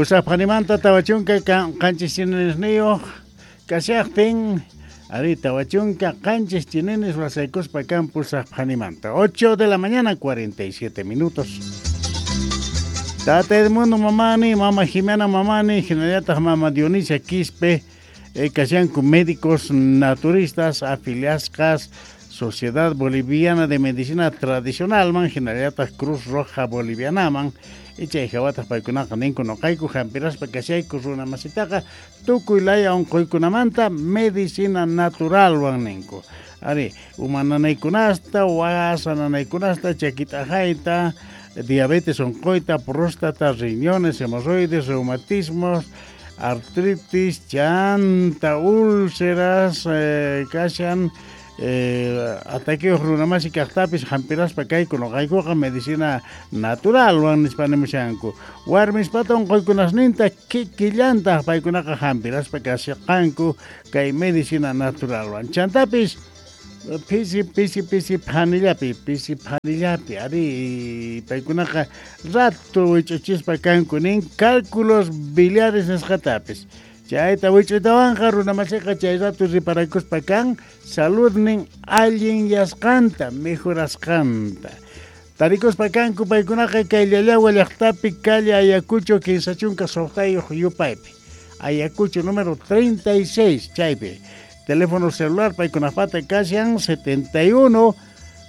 Pusaqphanimanta 47 chininisniyuq kashaqtin, ari 47 chininis wasaykuspa kan pusaqphanimanta. 8 de la mañana 47 minutos. Tata Edmundo Mamani, Mama Jimena Mamani, hinallataq Mama Dionisia Quispe, kashanku médicos naturistas afiliasqas Sociedad Boliviana de Medicina Tradicionalman, hinallataq Cruz Roja Bolivianaman, chay hawataq paykunaqa ninku noqayku hampiraspa kashayku runa masitaqa tukuy laya unquykunamanta medicina naturalwan ninku. Ari, uma nanaykunasta, wasa nanaykunasta, chakit'ajayta, diabetes unquyta, próstata, riñones, hemorroides, reumatismos, artritis, chanta, úlceras, kashan, ataqueos runamasi kaqtapis hampiraspa kayku noqaykuqa medicina naturalwan nispa nimushanku. Warmispata unquykunasninta kikillantaq paykunaqa hampiraspa kasqanku kay medicina naturalwan. Chantapis pisi pisi pisi phanillapi, pisi phanillapi, ari paykunaqa rato wich'uchispa kanku nin cálculos biliares nisqatapis. Chayta wich'uytawanqa runamasiqa chay rato riparakuspa kan saludnin allinyasqanta, mejorasqanta. Tarikuspa kanku paykunaqa kay Llallagua llaqtapi calle Ayacucho 36 yupaypi. Ayacucho número 36 chaypi. Teléfono celular paykunapata kashan 71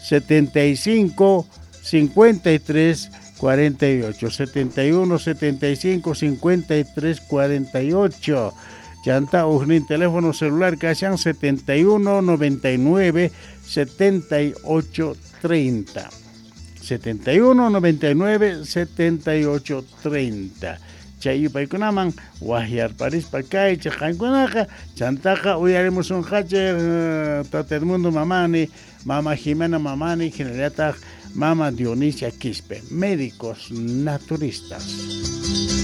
75 53 48, 71 75 53 48. Chanta ujnin teléfono celular kashan 71 99 78 30. 71 99 78 30. Chay yupaykunaman wajyarparispa kaychej qankunaqa chantaqa uyarimusunqachej Tata Edmundo Mamani, Mama Jimena Mamani, hinallataq Mama Dionisia Quispe, médicos naturistas.